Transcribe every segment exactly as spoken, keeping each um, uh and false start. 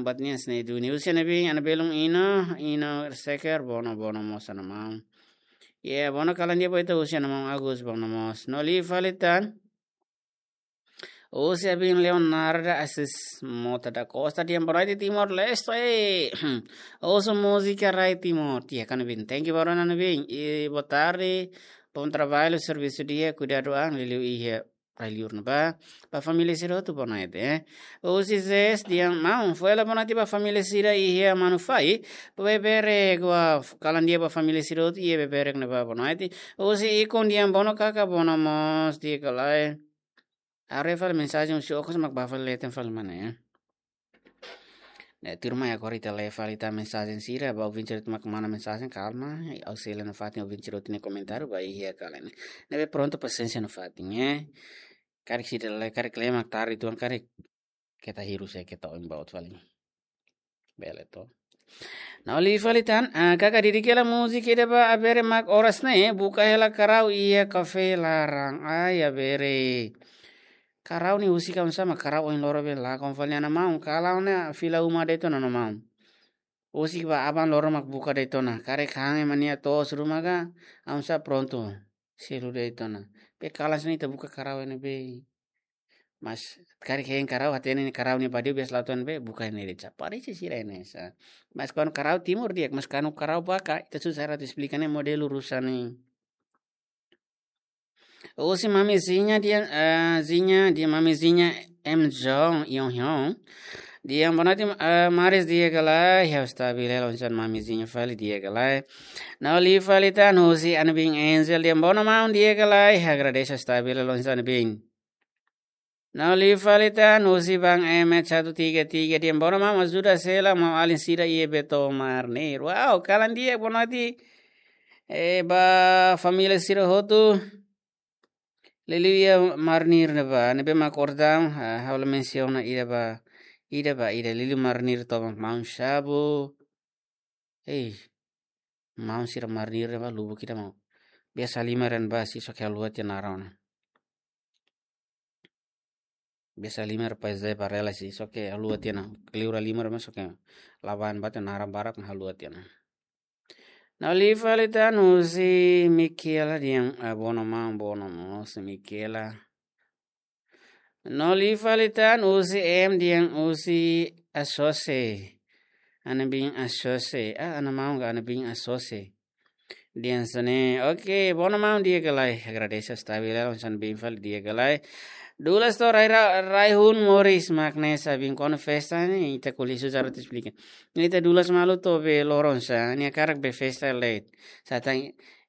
Bat nian sini duni husi Ana Bin, Ana Belum Ino, Ino Seker, bono, bono mós Ana Maun. Ye, bono kalan di'ak ba ita husi Ana Maun Agus, bono mós. No liu fali tan. Husi Ana Bin Leonarda Assis Mota da Costa, dehan boa noite Timor-Leste. Ouço música rai Timor. Di'ak Ana Bin, thank you barak Ana Bin. I boa tarde, bom trabalho, servisu di'ak, kuidadu an, liuliu iha rai-liur ne'ebá. Ba família sira hotu boa noite, eh. Husi Zes dehan maun, fó hela boa noite ba família sira iha Manufai. Beberek, kalan di'ak ba família sira hotu iha Beberek ne'ebá boa noite. Husi Ikun dehan bono kaka, bono mós, di'ak ka lae. Haree fali mensajen husi okos mak bá fali leten fali mana, eh. Ne'e, tuirmai agora ita lee fali tan mensajen sira, ba ouvinte sira mak manda mensajen, kalma, ha'u sei lee nafatin ouvinte sira hotu nia komentáriu, ba iha kalan ne'e. Ne'ebé prontu pasiénsia nafatin, eh. Karik sira lee, karik lee mak tarde uitoan, karik keta hirus, eh, keta oin baut fali. Bele to. No liu fali tan, ah, kaka didik hela múzika ida ba Abere mak oras ne'e, buka hela karau iha kafé laran. Ai, Abere. Karau ne'e husik oinsá mak karau ohin loron be lakon fali Ana Maun. Karau ne'e fila uma de'it ona Ana Maun. Husik ba aban loron mak buka de'it ona. Karik han ema nia to'os ruma ka, oinsá prontu. Selu de'it ona. Be kalan sini ita buka karau ne'ebé. Mas karik hein karau, hatene ne'e karau ne'e badiu biasa la'o tan be, buka ne'e de'it sa. Parese sira ne'e sa. Mas kuandu karau timur di'ak, mas kuandu karau baka, ita susar atu esplika ne'e modelu rusa ne'e. Husi Mami Zinha dehan, eh, Zinha, dehan Mami Zinha M Jong Yong Hyun. Dehan boa noite, eh, maris di'ak ka lae, ha'u stabil hela oinsá Mami Zinha fali di'ak ka lae. No liu fali tan husi Ana Bin Angel dehan bono maun di'ak ka lae, agradese stabil hela oinsá Ana Bin. No liu fali tan husi Bang Emet satu tiga tiga dehan bono maun ajuda sela maun-alin sira iha Beto Marnir. Wow, kalan di'ak boa noite. Eh, ba família sira hotu. Liuliu iha Marnir ne'ebá, ne'ebé mak oras daudaun, ah, ha'u la mensiona ida ba, ida ba, ida liuliu Marnir tomak maun Xabu. Ei, maun sira Marnir ne'ebá lubuk ida maun. Biasa lima ren ba si soke haluha tiha naran ona. Biasa lima ren pais de barela si soke haluha tiha ona. Keliura lima ren soke laban bate naran barak na haluha tiha ona. No liu fali tan husi Mikiela dehan, ah, bono maun, bono mós Mikiela. No liu fali tan husi M dehan husi Asose. Ana Bin Asose. Ah, Ana Maun ka Ana Bin Asose. Dehan hanesan ne'e. Oke, bono maun di'ak ka lae. Agradese stabil hela oinsá Ana Bin fali di'ak ka lae. Dulas to rai ra-, rai hun moris mak ne'e sa Bin kuandu festa ne'e, ita ko'alia susar atu esplika. Ne'e ita dulas malu to be loron sa, nia hakarak be festa late. Sa tan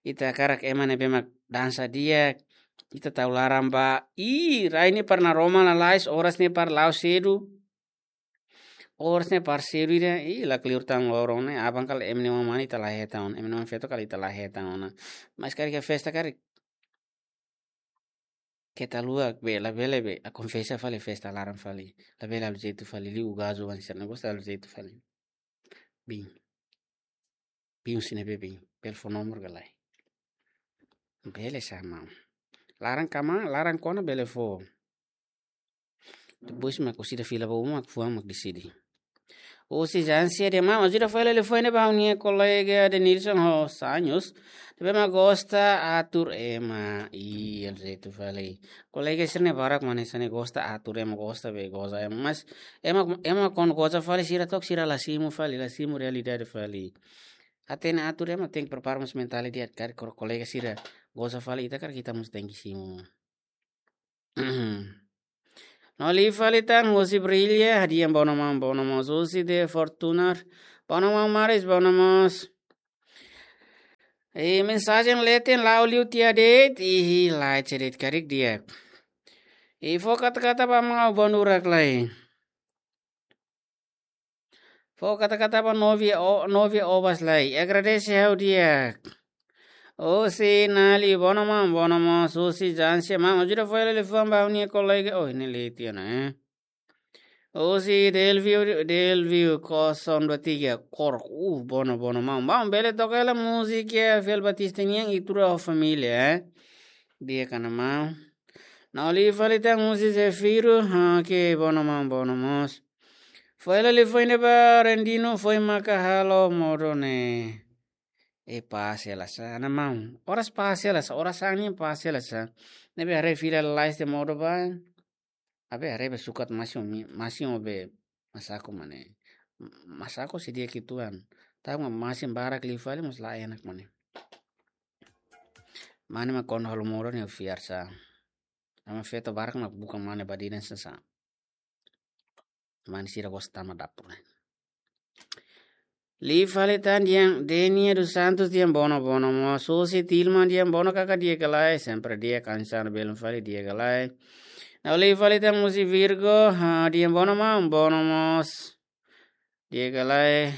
ita hakarak ema ne'ebé mak dansa di'ak, ita tau laran ba, ih, rai ne'e para naroman lalais, oras ne'e para la'o sedu. Oras ne'e para sedu ida, ih, lakleur tan loron ne'e, aban kala ema nia oan mane ita la hetan ona, ema nia oan feto kala ita la hetan ona. Mas karik iha festa karik. Keta haluha be, labele be, ah, konfesa fali festa laran fali. Labele halo jeitu fali, liu gazu wan sira-ne'e gosta halo jeitu fali. Bin. Bin husi ne'ebé Bin. Bele fó nomor ka lae. Bele sa maun. Laran kama, laran kona bele fó. Depois mak orsida fila ba uma mak fuan mak deside. Husi Jansia dehan maun, ajuda fó hela telefone ba ha'u-nia kolega Denilson ho Sanhus. Ne'ebé mak gosta atur ema. Ih, halo jeitu fali. Kolega sira-ne'e barak mak hanesan ne'e gosta atur ema, gosta be goza ema. Mas ema, ema kuandu goza fali sira to'o sira la simu fali, la simu realidade fali. Hatene atur ema tenke prepara mós mentál di'ak karik ko-, kolega sira goza fali ita karik ita mós tenke simu. No liu fali tan husi Brilha, dehan bono maun, bono mós husi De Fortunar. Bono maun maris, bono mós. I mensajen leten la'o liu tiha de'it, ihi lai cedit karik di'ak. I fó kata-kata ba maun Bondu rak lai. Fó kata-kata ba Novia O-, Novia Obas lai. Agradese ha'u di'ak. Husi Nali, bono maun, bono mós husi Jansia maun. Ajuda fó hela telefone ba ha'u-nia kolega. Oh, ne'e leten ona, eh. Husi Delvio, Delvio kosong dua tiga, kor, uh, bono, bono maun. Maun, bele toka hela múzika Fiel Batista nian Itura ho família, eh. Di'ak Ana maun. No liu fali tan husi Zefiro, oke, bono maun, bono mós. Foin hela liafuan ida ba Rendino, foin maka halo modo ne'e. E pase la sa, ana maun. Oras pase la sa, oras angin pase la sa. Ne'ebé haree fila lalais tiha modo ba. Abe haree be sukat masin mi-, masin o be masaku mane. Masaku se dia kituan. Tau ma masin barak liu fali mós la enak mane. Mane mak kona halo modo ne'e fiar sa. Ama feto barak mak buka mane badinan sa sa. Mane sira gosta tama dapur. Liu fali tan di'ak, Denia dos Santos di'ak, bono, bono mós. Susi Tilma di'ak, bono kaka, di'ak ka lae, sempre di'ak, kansar belun fali, di'ak ka lae. Nau liu fali tan husi Virgo, ha, di'ak, bono maun, bono mós. Di'ak ka lae.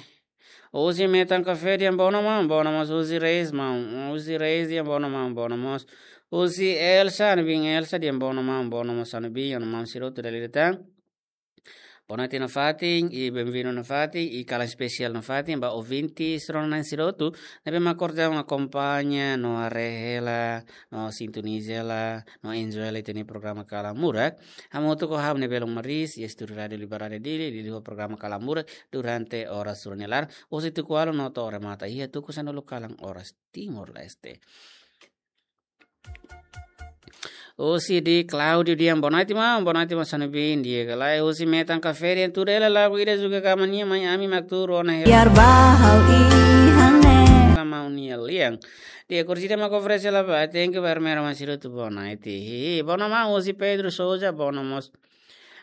Husi Metan Café di'ak, bono maun, bono mós. Husi Reis maun, husi Reis di'ak, bono maun, bono mós. Husi Elsa, ha'u-nia biin Elsa di'ak, bono maun, bono mós, ha'u-nia biin, ha'u-nia maun sira hotu dala ida tan. Boa noite nafatin, i benvindu nafatin, i kalan espesiál nafatin ba ouvinte sira-nia sira hotu ne'ebé mak orsida akompaña no haree hela, no sintoniza hela, no enjoy hela ita-nia programa Kalan Murak. Hamutuk ho ha'u-nia belun Maris, iha estúdiu Rádiu Liberdade Dili, liuliu ho programa Kalan Murak durante oras rua nia laran, husi tuku ualu no to'o remata iha tuku sanulu kalan oras Timor-Leste. Husi di Claudio di'ak, boa noite maun, boa noite maun, ha'u-nia biin, di'ak ka lae. Husi Metan Café di'ak, tuda hela lagu ida Zuka Kama nia, mai ami mak tuur ona hela. Biar ba ha'u iha ne'e. Sama unia lian. Di'ak, orsida mak oferese la ba, thank you ba Hermera Masiru tu boa noite. Hi, hi, bono maun, husi Pedro Souza, bono mós.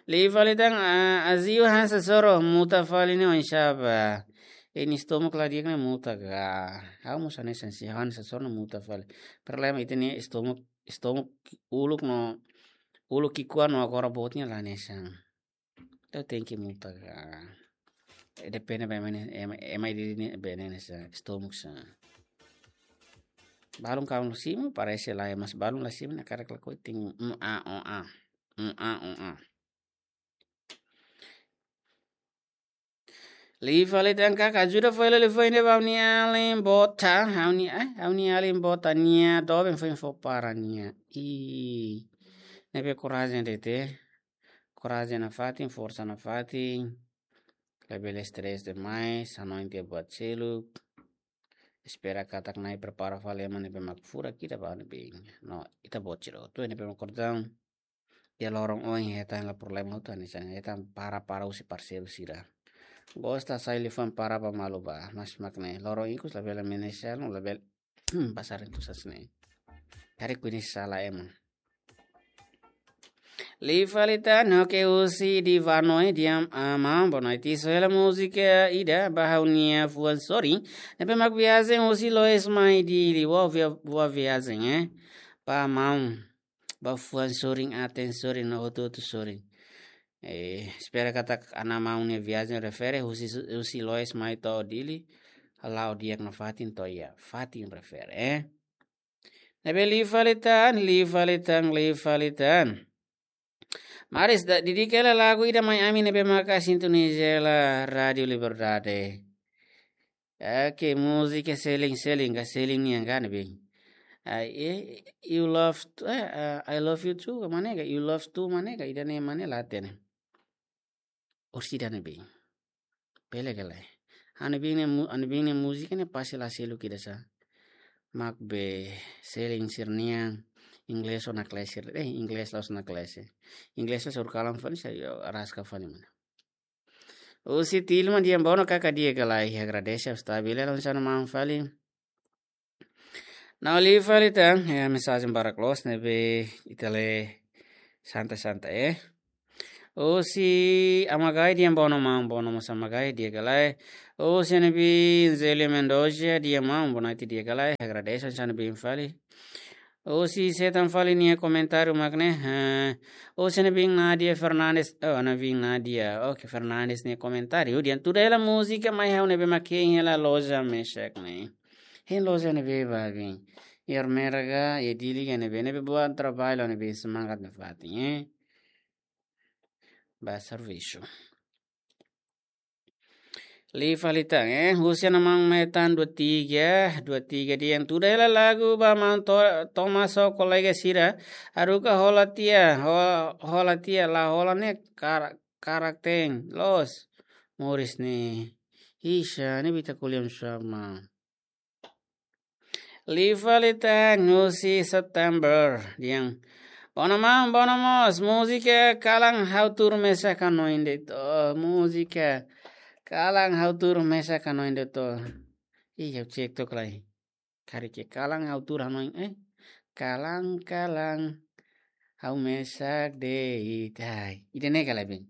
Liu fali tan, ah, aziu hanesan soro, muta fali ne'e oinsá ba. Ha'u-nia estómagu la di'ak ne'e muta ka. Ha'u mós hanesan sira, hanesan soro ne'e muta fali. Problema ita-nia estómagu, estómagu uluk no, uluk ki'ikoan no agora boot ne'e la hanesan. Entaun tenke muta ka. Eh, depende ba ema ne'e, ema, ema ida-idak ne'e, be ne'e hanesan estómagu sa. Balun kawan simu, parese lae, mas balun la simu, ne'e karik lakohi tin, mm, a, o, a. Mm, a, o, a. Liu fali tan kaka, ajuda foin hela liafuan ida ba ha'u-nia alin Bota, ha'u-nia, eh, ha'u-nia alin Bota nia doben foin fó para nia. Ih, ne'ebé korajen de'it. Korajen nafatin, forsa nafatin. Labele stress demais, hanoin tiha buat seluk. Espera katak Na'i prepara fali ema ne'ebé mak furak ida ba ha'u-nia biin. No, ita-boot sira hotu ne'ebé mak kordang. Iha loron oin hetan hela problema hotu hanesan, hetan para-para husi parseiru sira. Gosta sai liafuan para ba malu ba, mas mak ne'e loron ikus labele menesel, no labele pasar entusias ne'e. Karik kuini sala ema. Liu fali tan, oke, husi di Vanoe di'ak, ah, maun, boa noite. Soe hela múzika ida ba ha'u-nia fuan sorin ne'ebé mak viajen husi Loes mai Dili, boa via-, boa viajen, eh. Ba maun. Ba fuan sorin, aten sorin, no hotu-hotu sorin. Eh, espera katak ana maun nia viajen refere husi, husi Loes mai to'o Dili, la'o di'ak nafatin to'o iha fatin refere, eh. Ne'ebé liu fali tan, liu fali tan, liu fali tan. Maris, da-, dedika hela lagu ida mai ami ne'ebé maka sintoniza hela Rádiu Liberdade. Oke, múzika Selin, Selin, ka Selin nian ka ne'ebé. Ah, eh, you love, eh, ah, I love you too, ka mane ka, you love too, mane ka, ida-ne'e mane la hatene. Orsida ne'ebé. Bele ka lae. Ha'u-nia biin nia mu-, ha'u-nia biin nia múzika ne'e pasti la seluk ida sa. Mak be Selin sira-nian, inglés ona klase, eh, inglés la'ós ona klase. Inglés la suru kalan fali sa, yo, araska fali mana. Husi Tilma di'ak, bono kaka, di'ak ka lae, agradese, stabil, la hanesan maun fali. Nau liu fali tan, eh, mensajen barak loos ne'ebé ita lee santai-santai, eh. Husi Amagai di'ak, bono maun, bono mós Amagai, di'ak ka lae. Husi ha'u-nia biin Zelia Mendoza di'ak, maun, boa noite, di'ak ka lae, agradese, hanesan ha'u-nia biin fali. Husi sé tan fali nia komentáriu mak ne'e, eh, husi ha'u-nia biin Nadia Fernandes, oh, ha'u-nia biin Nadia, oke, Fernandes nia komentáriu, di'ak, tuda hela múzika mai ha'u ne'ebé mak hein hela loja Meshack ne'e. Hein loja ne'ebé ba biin. Iha Ermera ka, iha Dili ka ne'ebé, ne'ebé buat traballu ne'ebé semangat nafatin, eh. Ba servisu. Liu fali tan, eh, husi ha'u-nia maun Metan dua tiga, dua tiga di'ak, tuda hela lagu ba maun To-, Thomas ho kolega sira, haruka hola tiha, ho-, hola tiha, la hola ne'e kar-, karak-teen, loos. moris ne'e. Ixa, ne'ebé ita ko'alia sama. Liu fali tan husi September, dehan: Bono maun, bono moos, múzika Kalan Ha'u Tuur Mesak Hanoin de'it. Oh, múzika Kalan Ha'u Tuur Mesak Hanoin de'it. Ih, ha'u cek tok lai. Karik ke Kalan Ha'u Tuur Hanoin, eh? Kalan, kalan, ha'u mesak de'it. Ai, ida-ne'e ka lae, Ben?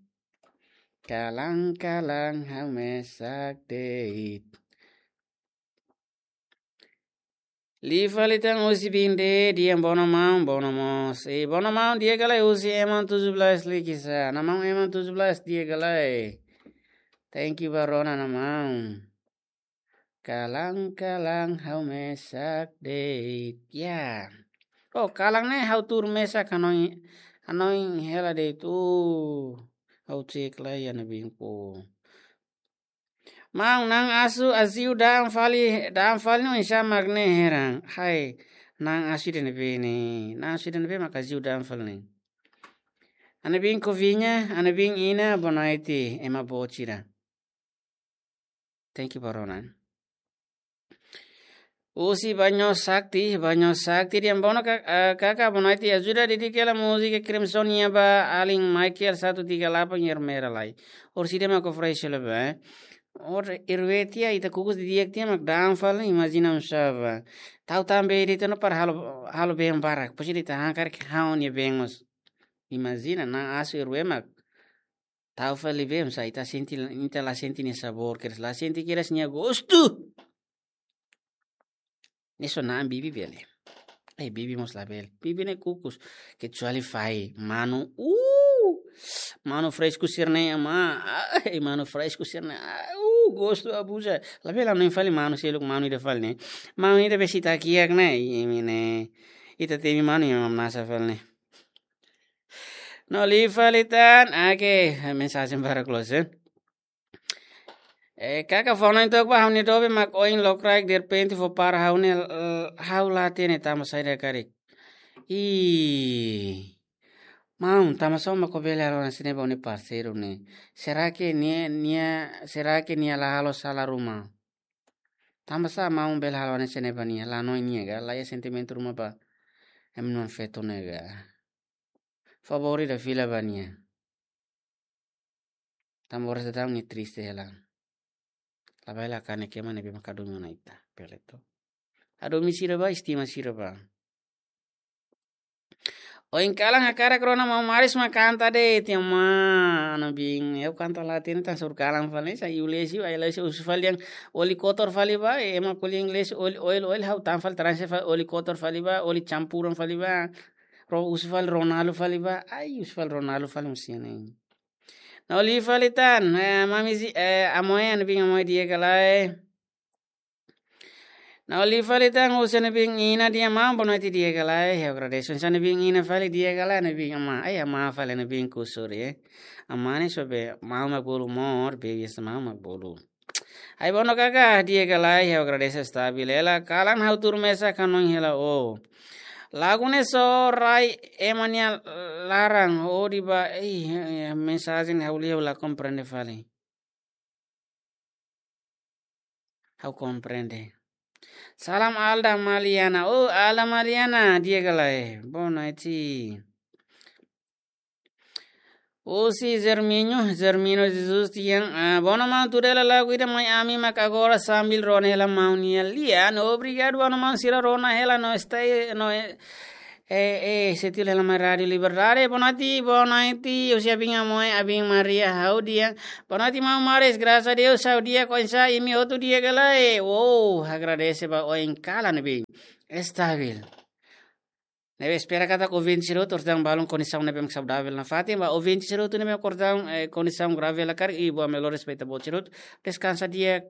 Kalan, kalan, ha'u mesak de'it. Liu fali tan husi Binde, dehan: Bono maun, bono moos. Eh, bono maun, di'ak ka lae husi Eman tujuh belas Likisá. Namaun Eman tujuh belas, di'ak ka lae? Thank you ba rona, namaun. Kalan, kalan, ha'u mesak de'it. Ya. Oh, kalan ne'e ha'u tuur mesak hanoin, hanoin hela de'it. Oh, ha'u cek lai, Ana Bin ko. Maun, na'an asu aziu da'an fali, da'an fali no insa mak ne'e heran. Hai, na'an asu ida-ne'ebé ne'e? Na'an asu ida-ne'ebé mak aziu da'an fali ne'e? Ana Bin ko Viña, Ana Bin Ina, boa noite, ema boot sira. Thank you ba rona. Husi Banyo Sakti, Banyo Sakti dehan: Bono ka-, eh, kaka, boa noite, ajuda didik hela múzika Crimson nian ba alin Michael satu tiga delapan, Yermera lai. Orsida mak ofrese le ba, eh. Or irwe tiha, ita kukus didi'ak tiha mak da'an fali, imajina oinsá ba. Tau tan bee de'it ona para halo, halo been barak. Pois ita han karik ha'u-nia been mós. Imajina, na'an asu irwe mak tau fali bee, oinsá ita sente, ita la sente nia sabór, kedas la sente kedas nia gostu. Ne'e só na'an bibi bele. Eh, bibi mós labele. Bibi ne'e kukus. Kecuali fai manu. Uh! Manu fresku sira-ne'e, amá. Ai, manu fresku sira-ne'e. Ah, uh, gostu abuza. Labele hanoin fali manu seluk, manu ida fali ne'e. Manu ida besik ita kiak ne'e. Imi ne'e. Ita temi manu ema hamnasa fali ne'e. No liu fali tan. Oke, mensajen barak loos, eh. Eh, kaka, fó hanoin tok ba, ha'u-nia doben mak oin lokraik derrepente fó para ha'u ne'e, eh, ha'u la hatene tanba saida karik. Ih, maun, tanba sá mak ó bele halo hanesan ne'e ba ó-nia parseiru ne'e? Será que nia, nia, será que nia la halo sala ruma? Tanba sá maun bele halo hanesan ne'e ba nia, la hanoin nia ka, la iha sentimentu ruma ba ema-nia feto ne'e ka? Favór ida fila ba nia. Tanba oras daudaun nia triste hela. Labele kanek ema ne'ebé mak hadomi ona ita. Bele to. Hadomi sira ba, estima sira ba. Oin kalan hakarak rona maun Maris mak kanta de'it, amá, Ana Bin. Ha'u kanta la hatene tan, só kalan fali, sa iu lesi, ai lesi husu fali dehan oli kotor fali ba, ema ko'alia inglés, oli, oil, oil, ha'u tan fali transe fali, oli kotor fali ba, oli campuran fali ba. Ro husu fali Ronaldo fali ba, ai, husu fali Ronaldo fali musine. No liu fali tan, eh, mami zi-, eh, Amoe, Ana Bin Amoe, di'ak ka lae? No liu fali tan husi Ana Bin Ina, dehan maun, boa noite, di'ak ka lae? Ha'u agradese. Husi Ana Bin Ina fali, di'ak ka lae, Ana Bin, amá? Ai, amá fali, Ana Bin kusur, eh. Amá ne'e só be, maun mak bolu mós, be biasa maun mak bolu. Ai, bono kaka, di'ak ka lae? Ha'u agradese, estabil hela. Kalan ha'u tuur mesak hanoin hela, oh. Lagu ne'e só rai ema nia laran, oh, di ba, eh, eh, mensajen ha'u lia ha'u la komprende fali. Ha'u komprende. Salam Alda Maliana. Oh, Alda Maliana, di'ak ka lae? Boa noite. Husi Zerminho, Zerminho Jesus dehan, ah, bono maun, tuda hela lagu ida mai ami mak agora sambil rona hela maun nia lian. Obrigadu, bono maun, sira rona hela no stay, no, eh, eh, eh, setil hela mai Rádio Liberdade. Boa noite, boa noite. Husi Abin Amoe, Abin Maria, ha'u dehan. Boa noite, maun Maris. Graças a Deus, ha'u di'ak, oinsá imi hotu, di'ak ka lae? Wow, agradese ba oin kalan ne'ebé estabil. Ne'ebé espera katak ouvinte sira hotu, orsida balun kondisaun ne'ebé mak saudavel nafatin, ba ouvinte sira hotu ne'ebé mak orsida, eh, kondisaun grave la karik, i boa melhoras ba ita-boot sira hotu. Deskansa di'ak.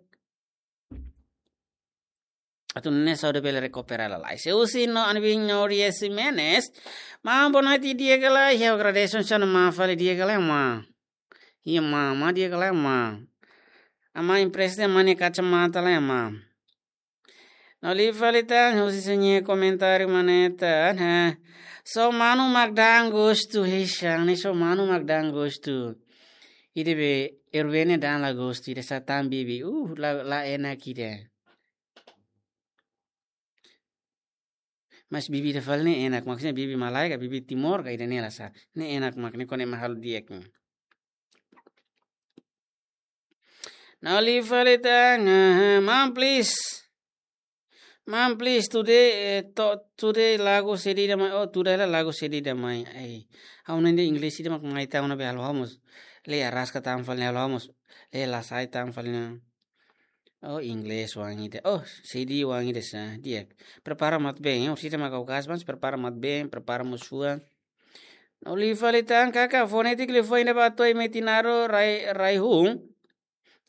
Atu nune'e saúde bele rekupera lalais. Husi no Ana Bin Noria Ximenes. Maun, boa noite, di'ak ka lae? Ha'u agradese, oinsá maun fali, di'ak ka lae, maun? Iha maun, maun di'ak ka lae, maun? Amá empresta maun nia kacamata lai, maun. No liu fali tan, husi sira-nia komentáriu maneta, ha. Só manu mak da'an gostu, hei, sá ne'e só manu mak da'an gostu. Ida be, Erwene dan la gostu ida sa tan bibi. Uh, la, la enak ida. Mas bibi ida fali ne'e enak, maksudnya bibi malae ka bibi Timor ka ida-ne'e la sá. Ne'e enak mak ne'e kone mahal di'ak. Now live fali tan, ah, mam please. Mam please today, eh, to, today lagu sedih ida mai, oh, today la lagu sedih ida mai. Ai, ha'u ne'e English ida mak mai tan ona be halo ha'u mós. Le araska tan fali halo ha'u mós. Le la sai tan fali na. Oh, English oan ida. Oh, sedih oan ida sa. Di'ak. Prepara mat-been, ya. Orsida maka o kasbans, prepara mat-been, prepara mós fuan. No live fali tan kaka, fonétika live fali ida ba to'o metin naran rai, rai hun.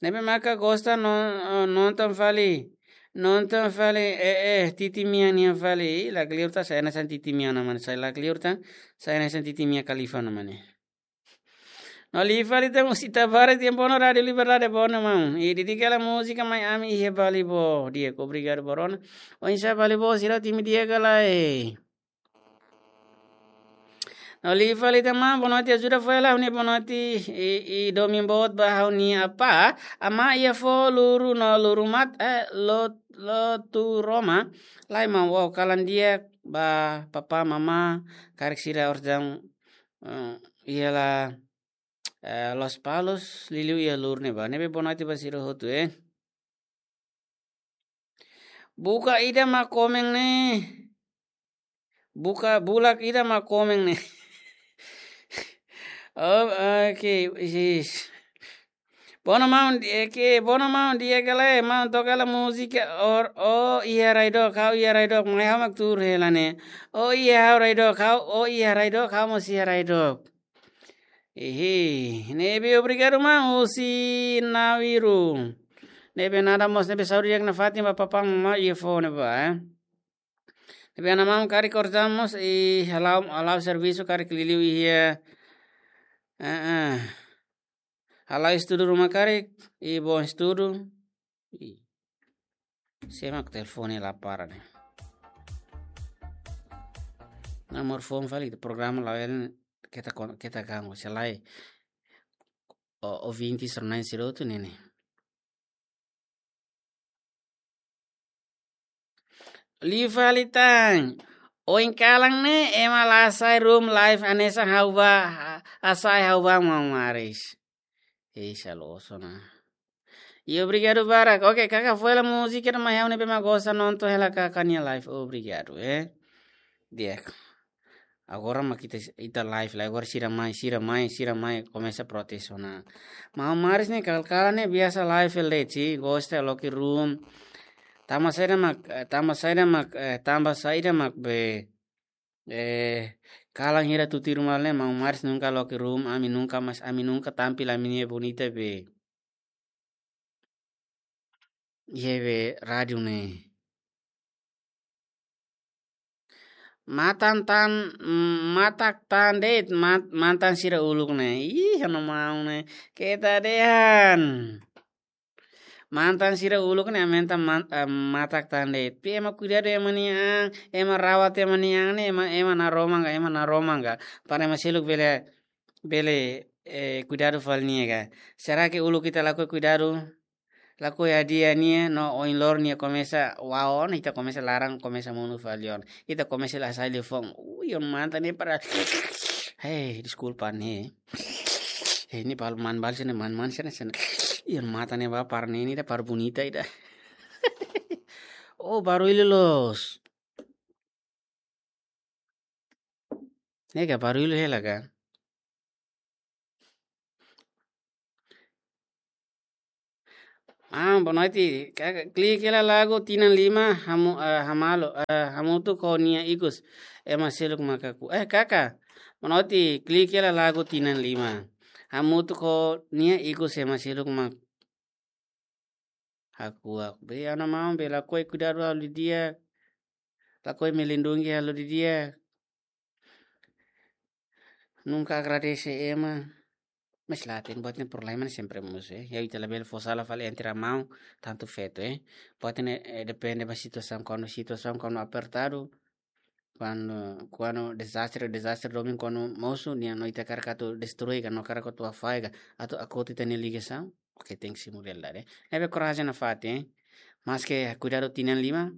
Ne'ebé maka gosta non, eh, nonton fali. Nonton fali, eh, eh, Titi Mia nian fali. Ih, lakleur tan, sai hanesan Titi Mia ona mane. Sai lakleur tan, sai hanesan Titi Mia Khalifa ona mane. No live fali tan, Usita Barat, tempo no Rádio Liberdade, bono maun. I dedika hela múzika mai ami iha Balibo. Di'ak, obrigadu ba rona. Oinsá Balibo, sira hotu imi di'ak ka lae? No live fali tan maun, boa noite, ajuda fó hela ha'u-nia boa noite, i, i domin boot ba ha'u-nia apá, amá iha foho luru no luru mat, eh, lo, lotu roma, lai maun, wow, kalan di'ak ba papá, mamá, karik sira orsida, eh, iha la, eh, Lospalos, liuliu iha luru ne'ebá. Ne'ebé boa noite ba sira hotu, eh. Buka ida mak komen ne'e. Buka bulak ida mak komen ne'e. Oh, oke, isis. Bono maun, eh, ke, bono maun, di'ak ka lae, maun toka hela múzika, or, oh, iha rai dook, ha'u iha rai dook, mai ha'u mak tuur hela ne'e. Oh, iha ha'u rai dook, ha'u, oh, iha rai dook, ha'u mós iha rai dook. Ehe, ne'ebé obrigadu maun husi Nawiru. Ne'ebé nada mós ne'ebé saúde di'ak nafatin ba papá mamá iha foho ne'ebá, eh. Ne'ebé ana maun karik orsida mós i hala'o, hala'o servisu karik liuliu iha. Eh, eh. Hala'o estudu ruma karik, i bom estudu. I. Sé mak telefone la para ne'e. Nomor phone fali, programa la el keta kon-, keta ganggu, se lae. O, ouvinte sira-ne'e sira hotu ne'e ne'e. Live fali tan. Ohin kalan ne'e, ema la hasai room live hanesan ha'u bá, ha-, hasai ha'u bá maun Maris. Ei, salo oso ona. I obrigadu barak. Oke, kaka fó hela múzika ida mai ha'u ne'ebé mak gosta nonton hela kaka nia live. Obrigadu, eh. Di'ak. Agora mak ita, ita live lai, agora sira mai, sira mai, sira mai, komesa protes ona. Maun Maris ne'e kal-, kalan ne'e biasa live hela de'it, gosta loke room. Tanba saida mak, eh, tanba saida mak, eh, tanba saida mak be, eh, kalan hira tutuir malu ne'e, Maun Maris nunka loke room, ami nunka mas, ami nunka tampil ami-nia bonita be. Iha be rádiu ne'e. Matan tan, mm, matak tan de'it, mat-, mantan sira uluk ne'e. Ih, ha'u-nia maun ne'e. Keta dehan. Mantan sira uluk ne'e aumenta man-, eh, matak tan de'it. Pe ema kuidadu ema nia an, ema rawat ema nia an ne'e, ema, ema naroman ka, ema naroman ka. Para ema seluk bele, bele, eh, kuidadu fali nia ka. Será que uluk ita lakohi kuidadu? Lakohi hadi'a nia, no ohin loron nia komesa waon, ita komesa laran, komesa monu fali ona. Ita komesa la sai liafuan. Ui, iha mantan ne'e para. Hei, deskulpa ne'e. Hei, ne'e balu man balu sira-ne'e, man-man sira-ne'e, sira-ne'e. Iha mantan ne'e bá para ne'e, ida para bonita ida. Oh, baruilu loos. Ne'e ka baruilu hela ka. Ah, boa noite. Ka-, klik hela lagu tinan lima, hamu-, eh, hamalu, eh, hamutuk ho nia ikus. Ema seluk mak hakuak. Eh, kaka. Boa noite, klik hela lagu tinan lima. Hamutuk ho nia ikus ema seluk mak hakuak. Be, ha'u-nia maun be lakohi kuidadu halo didi'ak. Lakohi melindungi halo didi'ak. Nunka agradese ema. Mas la hatene, buat ne'e problema ne'e sempre mosu, eh. Ya ita labele fó sala fali entre maun, tantu feto, eh. Buat ne'e, eh, depende ba situasaun, kuandu situasaun kuandu apertadu, Kuandu, kuandu dezastre, dezastre domin kuandu mosu, nia no ita hakarak atu destrui ka, no hakarak atu afaga, atu akotu ita-nia ligasaun. Oke, tenke simu realidade. Ne'ebé korajen nafatin, eh. Maske kuidadu tinan lima,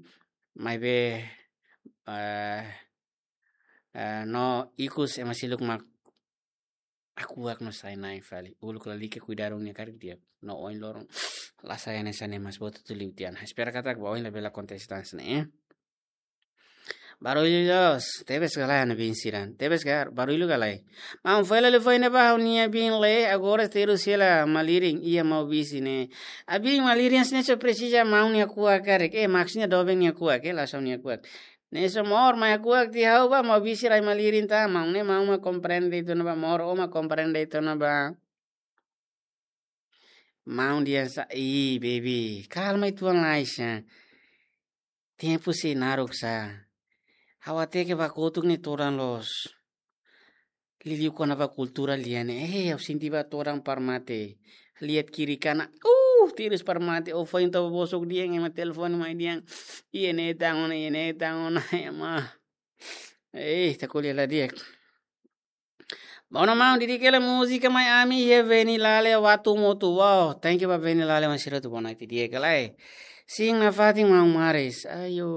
maibé, eh, eh, no ikus ema seluk mak akuak no sai-na'in fali. Uluk lalika kuidadu nia karik di'ak. No oin loron la sai hanesan ne'e, mas botu tu liu tiha ona. Espera katak ba oin labele akontese tan hanesan ne'e, eh. Barullu loos, tebes ka lae ha'u-nia biin sira. Tebes ka, barullu ka lae. Maun, foin la liu foin ne'ebá ha'u-nia biin lee, agora terus hela malirin, iha Maubisse ne'e. Ha'u-nia biin malirin hanesan ne'e só presiza maun nia kuak karik. Eh, maksudnya doben nia kuak, eh, la só nia kuak. Ne'e só moor mai kuak tiha ha'u ba, Maubisse rai malirin tan, maun ne'e maun mak komprende de'it ona ba, moor ó mak komprende de'it ona ba. Maun dehan sá, ih, baby, kalma uitoan lai sá. Tempu sei naruk sá. Ha'u hateke ba kotuk ne'e todan loos. Liuliu kona-ba kultura lia ne'e. Eh, ha'u sente ba todan para mate. Lihat kiri kanan. Uh, terus para mate. Ó foin toba bosok dehan, ema telefone mai dehan. Iha ne'e tan ona, iha ne'e tan ona, ema. Eh, ita ko'alia la di'ak. Bom, maun, dedika hela múzika mai ami, iha Veni Lale Watu Motu. Wow, thank you ba Veni Lale, maun sira atu boa noite di'ak ka lae. Sin, nafatin maun Maris. Ayo,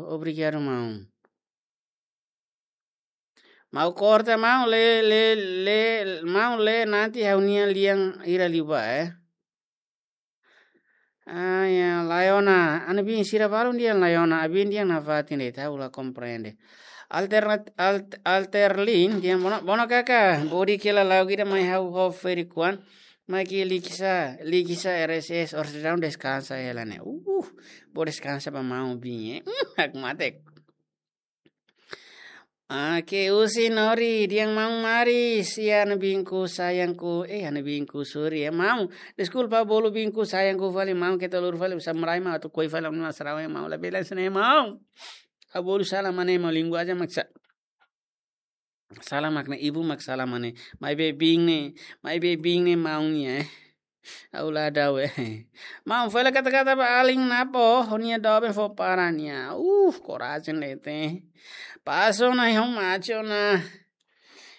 obrigadu maun. Maun korta maun, lee, lee, lee, maun lee nanti ha'u-nia lian hira liubá, eh. Ah, ya, Laiona. Ha'u-nia biin sira balun dehan Laiona. Ha'u-nia biin dehan nafatin de'it, ha'u la komprende. Alternat-, alt-, Alterlin dehan bono, bono kaka. Bodi kela lau gida mai ha'u ho feri kuan. Mai ke likisa, likisa R S S, orsida deskansa hela ne'e. Uh, bó deskansa ba maun biin, eh. Hmm, ha'u matek. Ah, ke usi nori, dehan maun Maris, iha ha'u-nia biinku, sayangku, eh, ha'u-nia biinku, sorry, eh, maun, deskulpa bolu biinku, sayangku, fali maun, keta lur fali, samurai maun, atu koi fali, maun, sarawe maun, labele hanesan ne'e maun. Ha'u bolu sala mane maun, linguajen mak sa-, sala mak ne'e, ibu mak sala mane, maibé biin ne'e, maibé biin ne'e maun nia, eh. Ha'u la dau, eh. Maun, foin la kata-kata ba alin Napo, ho nia doben fó para nia. Uh, korajen de'it. Paso na, ha'u mate ona.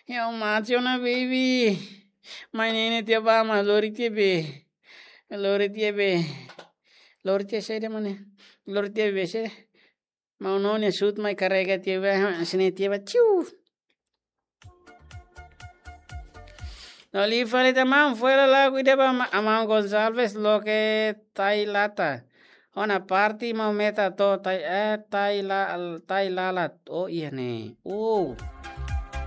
Ha'u mate ona, baby. Mai ne'e ne'e tiha ba, maun, lori tiha be. Lori tiha be. Lori tiha saida, maun ne'e? Lori tiha be, saida? Maun no nia sut mai karrega tiha ba, hanesan ne'e tiha ba, ciu. No liu fali tan maun, foin la lagu ida ba ma-, maun Gonçalves loke Tailata. Ona parte maun Meta to'o Tai, eh, Taila-, Tailalat. Oh, iha ne'e. Oh.